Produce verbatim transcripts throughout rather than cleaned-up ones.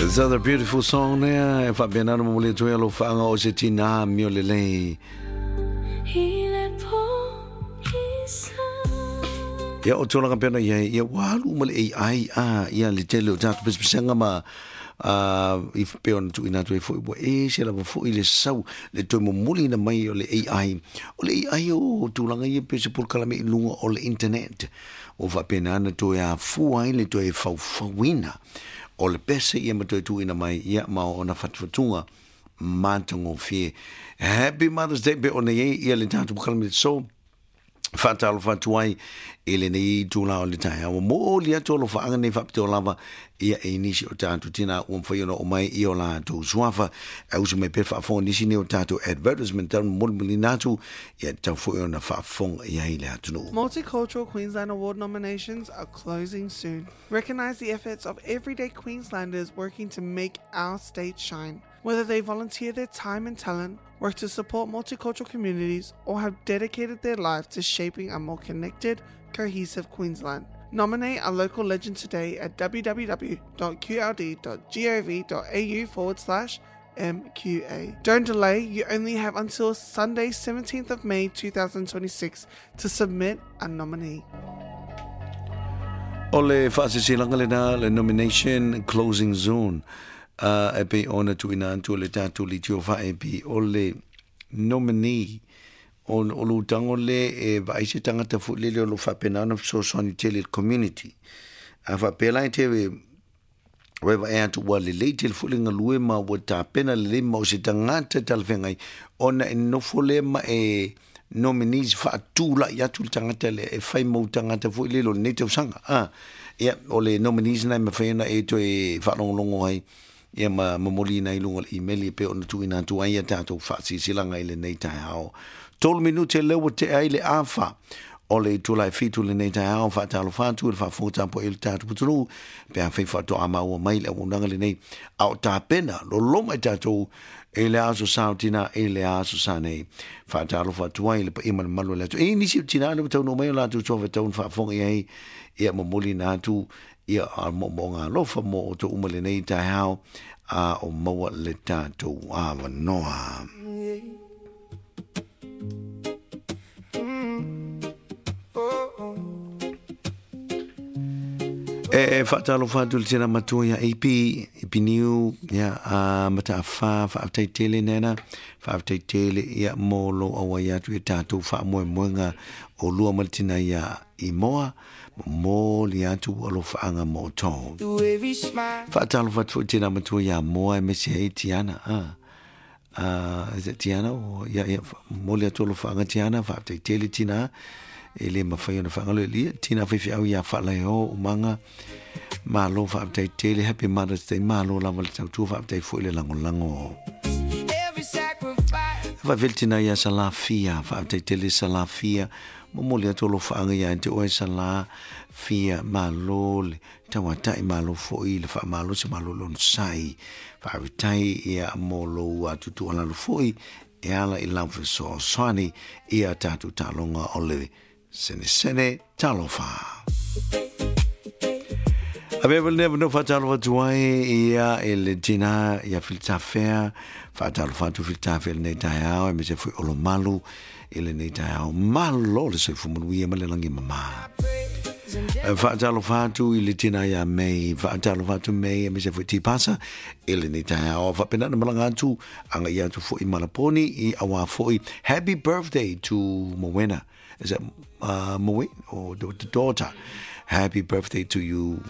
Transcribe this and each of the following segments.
This other beautiful song lea e faapena ona momoli atu ai alofaaga o se tinā mio lelei. Ia o tulaga pea ona iai, ia ua alu uma le A I a ia le tele o tatou pesepesega ma uh, i pei ona tuuina atu ai foi ua ese lava foi le sau le toe momoliina mai o le A I. O le A I o tulaga ia pei o se polokalame i luga o le internet ua faapena ona toe afua ai le toe faufauina o le pese ia ma toe tuuina mai ia ma ona fatufatuga matagofie. Happy Mother's Day pe ona iai ia le tatou polokalame so faatalofa atu ai i lenei itulā o le taeao. Ua momoli atu alofaaga nei faapitoa lava ia e nisi o tatou tinā ua mafai ona oo mai i o latou suafa. E usu mai pea faafofoga nisi nei o tatou advertisement tau molimolina atu ia tatau foi ona faafofoga i ai le atunuu. Multicultural Queensland Award nominations are closing soon. Recognise the efforts of everyday Queenslanders working to make our state shine. Whether they volunteer their time and talent, work to support multicultural communities, or have dedicated their life to shaping a more connected, cohesive Queensland. Nominate a local legend today at www.qld.gov.au forward slash M Q A. Don't delay, you only have until Sunday, seventeenth of May twenty twenty-six to submit a nominee. O le faasisilaga lena, le nomination closing soon uh, e pei ona tuuina atu le tatou leitio faaepi o le nominee o, o lo utago le e vaai se tagata foi lele o lo faapena ona fesoasoani tele i le community. A faapea la e te oe vaai atu ua lelei tele foi le galue ma ua tapena lelei ma o se tagata talafeagai ona e nofo lea ma e nominees faatulai atu le tagata lea e fai mau tagata foi lele o lenei tausaga. Ah, ia o le nominees na e mafai ona e toe faalogologo ai ia ma momoliina i luga o le email e pei ona tuuina atu ai ia tatou faasiasilaga i lenei taeao. Tolu minute lea ua tea ai le afa o le itula e fitu lenei taeao. Faatalofa atu i le faafofoga tapuai i le tatou atunuu pe afai faatoa maua mai le auaunaga lenei a o tapena loloma i tatou i le aso sa o tinā i le aso sa nei. Faatalofa atu ai i le paia ma le mamalu o le atunuu. E nisi o tinā le ua taunuu mai o latou suafa ona faafofoga i ai ia momoliina atu ia a moomooga alofa mo outou uma lenei taeao a o maua le tatou avanoa. E faatalofa atu le tina matua ia A P, A P Niu, ia a Mataafa, faafetai tele nena, faafetai tele ia mo lou auai atu i tatou faamoemoega o lua ma le tina ia Imoa, momoli atu alofaaga mo outou. Faatalofa atu foi tina matua ia Moa aemaise ai Tiana. Ah. Uh, is it Tiana o ia ia momoli atu alofaaga Tiana, faafetai tele tina e le mafai ona faagalo e lia tina faifeau ia faalaeo umaga malo faafetai tele. Happy Mother's Day, malo lava le tautua, faafetai foi le lagolago. Faafeli tina ia Salafia, faafetai tele Salafia, momoli atu alofaaga ia te oe Salafia, malo le tauata'i, malo foi le faamalosi, malo le onosai, faafetai ia mo lou atutualalo foi e ala i lau fesoasoani ia tatou taaloga o le senesene talofa. Avea le avanoa faatalofa atu ai ia e le tina ia Filitafea, faatalofa atu Filitafea i lenei taeao, aemaise foi Olomalu i lenei taeao. Malo le soifua manuia ma le lagi mamā. Faatalofa atu i le tina ia Mei, faatalofa atu Mei, aemaise foi Tipasa i lenei taeao. Faapena na malaga atu, agaia atu foi Malaponi i auā foi. Happy birthday to Moena. Is that uh, Moe or the, the daughter? Happy birthday to you.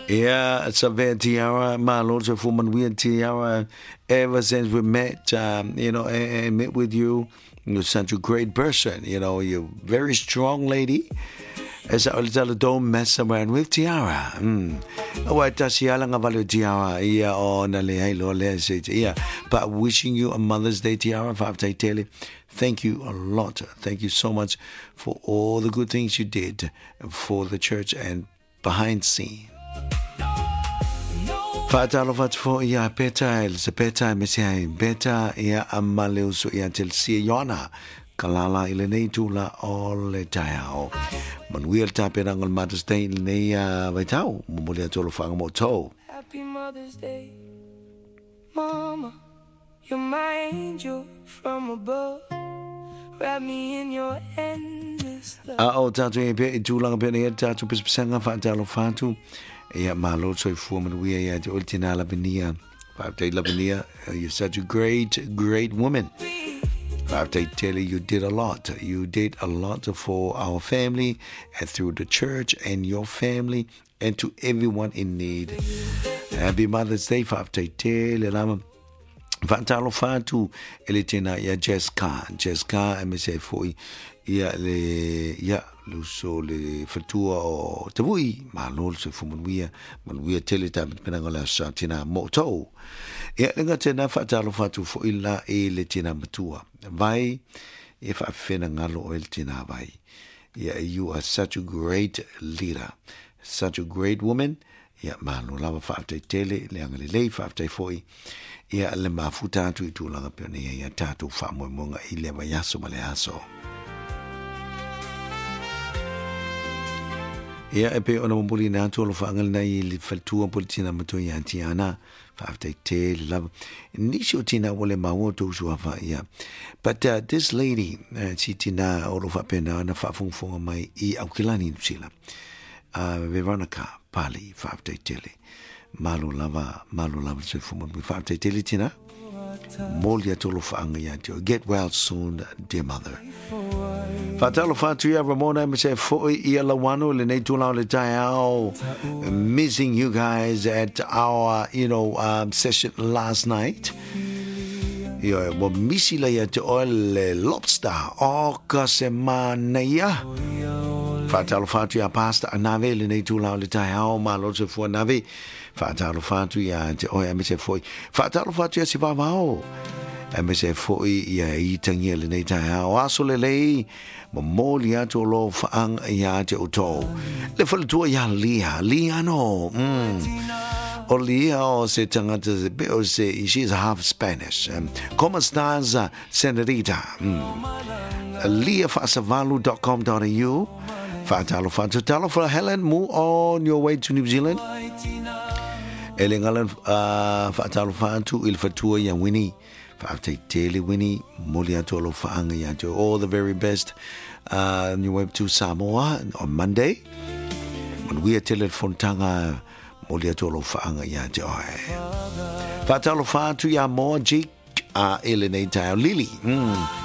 Yeah, it's a very Tiara, malo soifua manuia Tiara. Ever since we met, um, you know, and, and met with you, you're such a great person. You know, you're a very strong lady. As I tell, don't mess around with Tiara. Mm. Aua e tasi ala ngā vale o Tiara ia o na le hei lo le se ia. But wishing you a Mother's Day, Tiara, faafetai tele. Thank you a lot. Thank you so much for all the good things you did for the church and behind scene. Faatalofa atu foi ia Peta, Elisapeta, aemaise ai Beta, ia ma le uso ia Telsia Ioana, Kalala i lenei itula o le taeao. Manuia le tapenaga o le Mother's Day i lenei uh, vaitau, momoli atu alofaaga mo outou. Happy Mother's Day, Mama, you're my angel from above. Wrap me in your endless love. A o tātou e pe i tūlanga pe nei tātou pispisanga whaatalo whātu. Ia malo soifua manuia ia te ole tina Lavinia. Whaaftai Lavinia, you're such a great, great woman. Whaaftai tele, you did a lot. You did a lot for our family and through the church and your family and to everyone in need. Happy Mother's Day, whaaftai tele lama. Whaatalo whātu e le tēnā ia Jessica. Jessica e me se foi ia le ia luso le fatua o Tavui. Malo se fu manuia, manuia tele tā penanga le asa tēnā mōtou. Ia lenga tēnā whaatalo whātu foi la e le tēnā matua. Vai e whaafena ngalo o el tēnā vai. Ia, you are such a great leader, such a great woman. Ia malo lava whaaftai tele, le anga le lei whaaftai foi. Ia le mafuta atu i tūlanga peo nei ia tātou whaamoemoega i le vaiaso ma le aso. Ia e pe ona momoli nā atu alo whaangal nei i le whaltua po le tina matua ia Tiana. Whaaftai tele lava. Nisi o tina wale maua tō suafa ia. But uh, this lady, uh, si tina olo whaapena na whaafungafunga mai i Aukilani Nusila. Uh, Veronica Pali, whaaftai tele. Malo lava, malo lava se fuma mi whaaftai tele tina. Moli atolo whaanga ia teo. Get well soon, dear mother. Whaatalo whaatu ia Ramona me se foi ia lawano le nei tūlao le taiao. Missing you guys at our, you know, um, session last night. Ia, wa misi la ia te oe le lobster. O ka se manaia. Whaatalo whaatu ia pasta a nave le nei tūlao le taiao. Malo se fua nave. Whaatalo whaatu ia te oe a me se foi. Whaatalo whaatu ia si vavao. A me se foi ia i tangia le nei taiao. Aso le lei. Momoli atu o lo whaanga ia te otou. Le whaletua ia Lia. Lia no. Mm. O Lia o se tangata se pe o se, she's half Spanish. Um, como estás, senorita? Mm. lia faasavalu dot com dot a u. Whaatalo whaatu. Talo for Helen Mu on your way to New Zealand. Ele ngalan uh, whaatalo whaatu il whatua ia Winnie. Whaaftai tele Winnie. Moli atu alo whaanga ia te. All the very best uh, on your way to Samoa on Monday. Manuia tele fontanga moli atu alo whaanga ia te oe. Whaatalo whaatu ia moa Jake a ele nei tau Lily. Mm.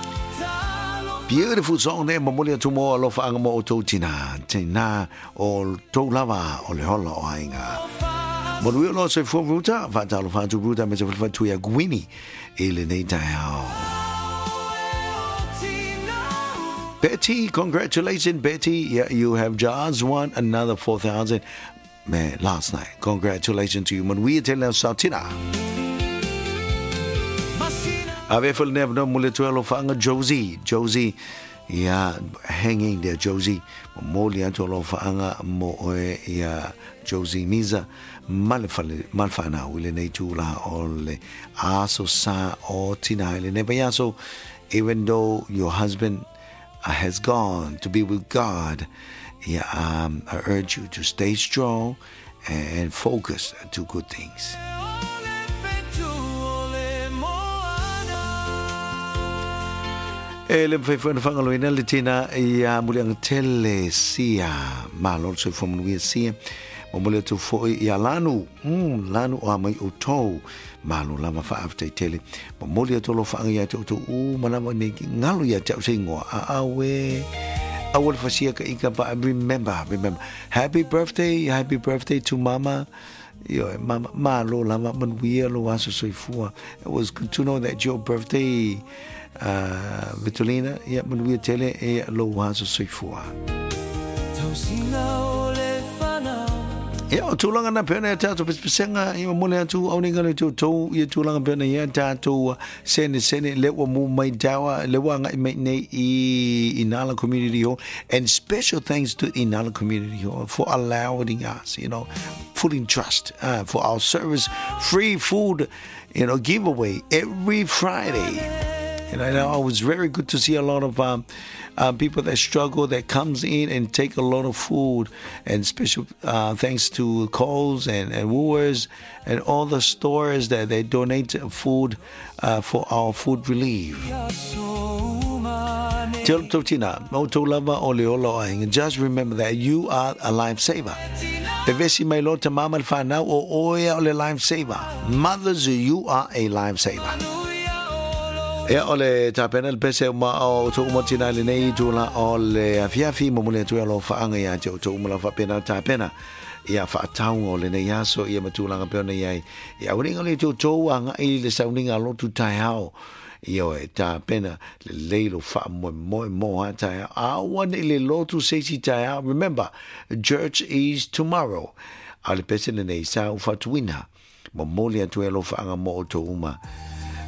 Beautiful song there, momoli atu mo alo whaanga mo o tau tina. Tina o tau lava o le hola o ainga. Manuia lo se fua ruta, whaatalo whaatu ruta me te whatu ia Gwini ele nei tau. Betty, congratulations Betty. Yeah, you have just won another four thousand. Man, last night. Congratulations to you. Manuia te leo sautina. Ave fo le no mole tuelo whaanga Josie. Josie, yeah, hanging there, Josie. Moli atu lo whaanga mo oe ia Josie Miza. Malefale, malwhana ule nei tūla o le aso sa o tina ele ne aso. Even though your husband has gone to be with God, yeah, um, I urge you to stay strong and focus to good things. E le mwhaiwhana whangaloina le tēnā ia mulianga tele sia. Malo se whamanuia sia. Mo atu foi ia lanu. Mm, lanu o amai o tau. Malo lama whaaftai tele. Mo atu lo whaanga ia te o tau. U malama nei ngalo ia te au se ingoa. A awe. Awe le whasia ka ika pa. Remember, remember. Happy birthday, happy birthday to mama. Yo, mama, malo lama manuia lo aso soifua. It was good to know that your birthday, uh, Vitolina, ia manuia tele e lo aso soifua. Ia o tūlanga na pena ia tātou pesepesenga ia mole atu au nei ngalo tō tō ia tūlanga pena ia tātou sene sene lewa mu mai dawa lewa ngai mai nei i Inala Community Hall, and special thanks to Inala Community Hall for allowing us, you know, full in trust uh, for our service, free food, you know, giveaway every Friday. And I know it was very good to see a lot of um, uh, people that struggle, that comes in and take a lot of food. And special uh, thanks to Coles and, and Woolworths and all the stores that they donate food uh, for our food relief. Just remember that you are a lifesaver. Pevesi mai lo te mama le whanau o oea o le lifesaver. Mothers, you are a lifesaver. Ia o le tapena le pese ma o to uma tina le nei tula o le afiafi mo mole tu alo whaanga ia te o to uma la whapena tapena. Ia whaataunga o le nei aso ia matulanga pe ona iai. Ia uringa le tō tō anga i le sauninga lotu tai hao. Ia o e tapena le leilo wha moe moe mo ha tai hao. Awa ne le lotu seisi tai hao. Remember, church is tomorrow. A le pese le nei sa uwhatuina. Mo mole atu e alo whaanga mo o tō uma.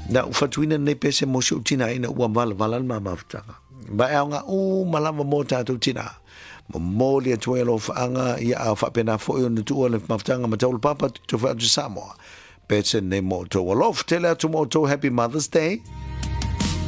Na uwhatuina nei pese mo si utina ina ua wala wala ma mafutanga. Ba e aonga u malama mo tātou tina. Mo mole atu e alo whaanga ia a whapena fo i ona tua le mafutanga ma taulu papa tu whaatu Samoa. Pese nei mo tō alof. Tele atu mo tō Happy Mother's Day.